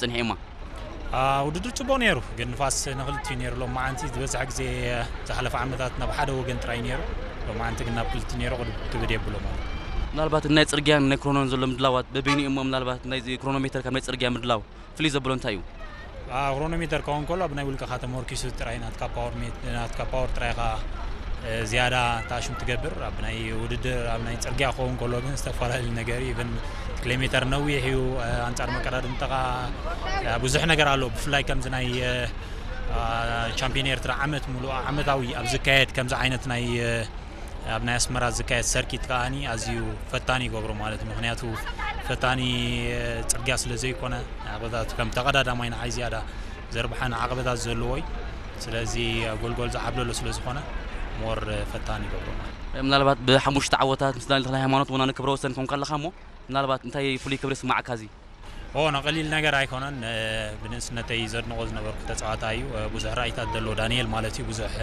ጽንሒማ። ውድድር ጽቡቕ ነይሩ፣ ግን ንፋስ ንክልቲኡ ነይሩ። ሎማዓንቲ ዝበዝሐ ግዜ ዝሓለፈ ዓመታት ናብ ሓደ ወገን ጥራይ ነይሩ፣ ሎማዓንቲ ግን ናብ ክልቲ ነይሩ። ክብድ የብሎ ማለት። ምናልባት ናይ ጽርግያን ናይ ክሮኖን ዘሎ ምድላዋት በበይኑ እሞ ምናልባት ናይ ክሮኖሜተር ካብ ናይ ጽርግያ ምድላው ፍልይ ዘብሎ እንታይ እዩ? ክሮኖሜተር ከውን ከሎ ኣብ ናይ ውልቀኻ ተመርኪሱ ጥራይ ናትካ ፓወር ሜት ናትካ ፓወር ጥራይ ኢኻ ዝያዳ ታሽም ትገብር። ኣብ ናይ ውድድር ኣብ ናይ ጽርግያ ክኸውን ከሎ ግን ዝተፈላለዩ ነገር እዩ። ብን ኪሎሜተር ነዊሕ እዩ። ኣንጻር መቀዳድምተኻ ብዙሕ ነገር ኣሎ። ብፍላይ ከምዚ ናይ ቻምፒዮን ኤርትራ ዓመት ሙሉእ ዓመታዊ ኣብ ዝካየድ ከምዚ ዓይነት ናይ ኣብ ናይ ኣስመራ ዝካየድ ሰርኪት ከዓኒ ኣዝዩ ፈታኒ ይገብሮ ማለት እዩ። ምክንያቱ ፈታኒ ጽርግያ ስለ ዘይኮነ ዓቕበታት ከም ተቐዳዳማይ ንዓይ ዝያዳ ዘርብሓን ዓቕበታት ዘለዎ እዩ። ስለዚ ጎልጎል ዝዓብለሎ ስለ ዝኾነ ሞር ፈታኒ ይገብሮ ማለት እዩ። ምናልባት ብሓሙሽተ ዓወታት ምስ ዳንኤል ተክለ ሃይማኖት ወናኒ ክብረ ወሰን ኮንካ ኣለኻ እሞ ምናልባት እንታይ ፍሉይ ክብሪ ስማዓካ እዚ? ኦ፣ ንቐሊል ነገር ኣይኮነን። ብንእስነተይ ዘድንቖ ዝነበርኩ ተጻዋታይ እዩ። ብዙሕ ራእይታት ዘለዎ ዳንኤል ማለት እዩ። ብዙሕ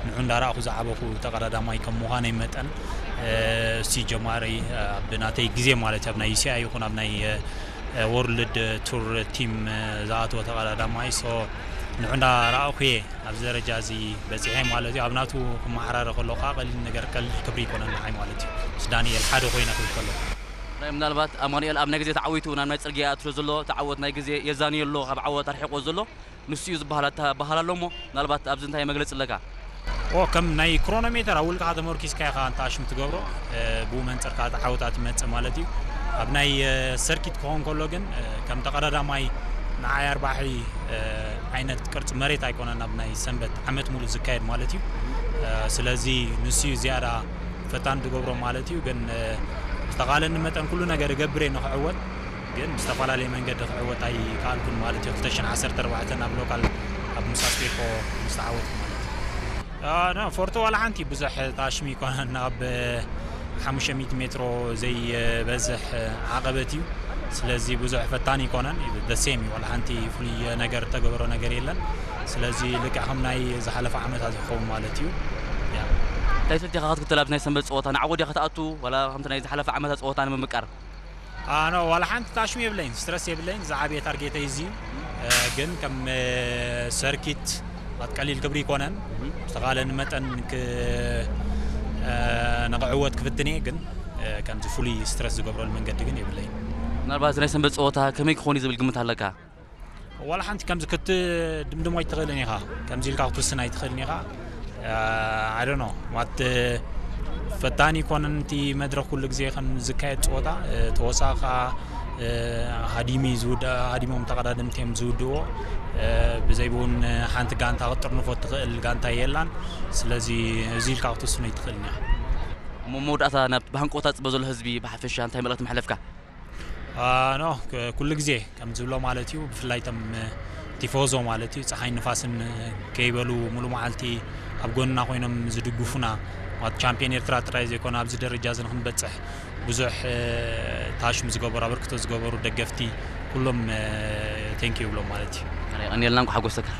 ንዑ እንዳረኣኹ ዝዓበኹ ተቐዳዳማይ ከም ምዃነይ መጠን፣ እሲ ጀማሪ ኣብ ናተይ ግዜ ማለት ኣብ ናይ ዩሲኣይ ይኹን ኣብ ናይ ወርልድ ቱር ቲም ዝኣተወ ተቐዳዳማይ። ሶ ንዑ እንዳረኣኹ እየ ኣብዚ ደረጃ እዚ በጺሐ ማለት እዩ። ኣብ ናቱ ክመዓራረ ከሎ ከዓ ቀሊል ነገር ቀሊል ክብሪ ይኮነን ንዓይ ማለት እዩ። ምስ ዳንኤል ሓደ ኮይነ ክብል ከሎ ናይ ምናልባት ኣማኑኤል ኣብ ናይ ግዜ ተዓዊቱ ናብ ናይ ጽርግያ እትሎ ዘሎ ተዓወት ናይ ግዜ የዛንዮ ኣሎ ካብ ዓወት ኣርሒቆ ዘሎ ንሱ እዩ ዝበሃል ኣታ በሃል ኣሎ እሞ ምናልባት ኣብዚ እንታይ መግለጺ ኣለካ? ኦ ከም ናይ ክሮኖሜተር ኣብ ውልቅኻ ተመርኪስካ ኢኻ እንተ ኣሽም ትገብሮ። ብኡ መንፅር ከዓ ተዓወታት ይመፅእ ማለት እዩ። ኣብ ናይ ሰርኪት ክኸውን ከሎ ግን ከም ተቐዳዳማይ ንዓይ ኣርባሒ ዓይነት ቅርፂ መሬት ኣይኮነን ኣብ ናይ ሰንበት ዓመት ሙሉእ ዝካየድ ማለት እዩ። ስለዚ ንሱ እዩ ዝያዳ ፈታን ዝገብሮ ማለት እዩ። ግን ዝተቓለኒ መጠን ኩሉ ነገር እገብር እየ ንክዕወት፣ ግን ብዝተፈላለየ መንገዲ ክዕወት ኣይከኣልኩን ማለት እዩ። ክልተ ሽሕን ዓሰርተ ኣርባዕተን ኣብ ሎካል ኣብ ምሳስፔኮ ምስ ተዓወትኩ ማለት እዩ። ፎርቶ ዋላ ሓንቲ ብዙሕ ታሽሚ ይኮነን ኣብ ሓሙሽተ ሚእቲ ሜትሮ ዘይበዝሕ ዓቐበት እዩ። ስለዚ ብዙሕ ፈታኒ ይኮነን። ደሴም እዩ፣ ዋላ ሓንቲ ፍሉይ ነገር ተገበሮ ነገር የለን። ስለዚ ልክዕ ከም ናይ ዝሓለፈ ዓመታት ይኸውን ማለት እዩ። ያ እንታይ ሰቲኻ ክትክተል ኣብዚ ናይ ሰንበት ፀወታ ንዓወት ዲኻ ክትኣቱ ዋላ ከምቲ ናይ ዝሓለፈ ዓመታት ፀወታ ንምምቃር? ኣነ ዋላ ሓንቲ ታሽሚ የብለይን፣ ስትረስ የብለይን። ዝዓበየ ታርጌተይ እዚ እዩ። ግን ከም ሰርኪት ኣት ቀሊል ክብሪ ይኮነን ዝተኻለኒ መጠን ንክዕወት ክፍትን እየ። ግን ከምዚ ፍሉይ ስትረስ ዝገብረሉ መንገዲ ግን የብለይን። ምናልባት ናይ ሰንበት ፀወታ ከመይ ክኾን እዩ ዝብል ግምት ኣለካ? ዋላ ሓንቲ ከምዚ ክትድምድሞ ኣይትኽእልን ኢኻ፣ ከምዚ ኢልካ ክትውስን ኣይትኽእልን ኢኻ። ኣይ ዶንት ኖ ማለት ፈታኒ ይኮነን እቲ መድረኽ ኩሉ ግዜ ከም ዝካየድ ፀወታ። ተወሳኺ ከዓ ሃዲሚ ዝውድእ ሃዲሞም ተቐዳደምቲ እዮም ዝውድእዎ። ብዘይ ብውን ሓንቲ ጋንታ ክትጥርንፎ ትኽእል ጋንታ የላን። ስለዚ እዚ ኢልካ ክትውስኖ ኣይትኽእልን ኢኻ። እሞ መወዳእታ ናብ ብሃንቆታ ዝፅበ ዘሎ ህዝቢ ብሓፈሻ እንታይ መልእኽቲ መሕለፍካ? ኖ ኩሉ ግዜ ከም ዝብሎ ማለት እዩ። ብፍላይ ቶም ቲፎዞ ማለት እዩ ፀሓይ ንፋስን ከይበሉ ሙሉ መዓልቲ ኣብ ጎንና ኮይኖም ዝድግፉና ማለት ቻምፒዮን ኤርትራ ጥራይ ዘይኮነ ኣብዚ ደረጃ እዚ ንክንበፅሕ ብዙሕ ታሽም ዝገበሩ ኣበርክቶ ዝገበሩ ደገፍቲ ኩሎም ቴንኪ ይብሎም ማለት እዩ። ቀኒልና እንኳ ሓጎሰካ።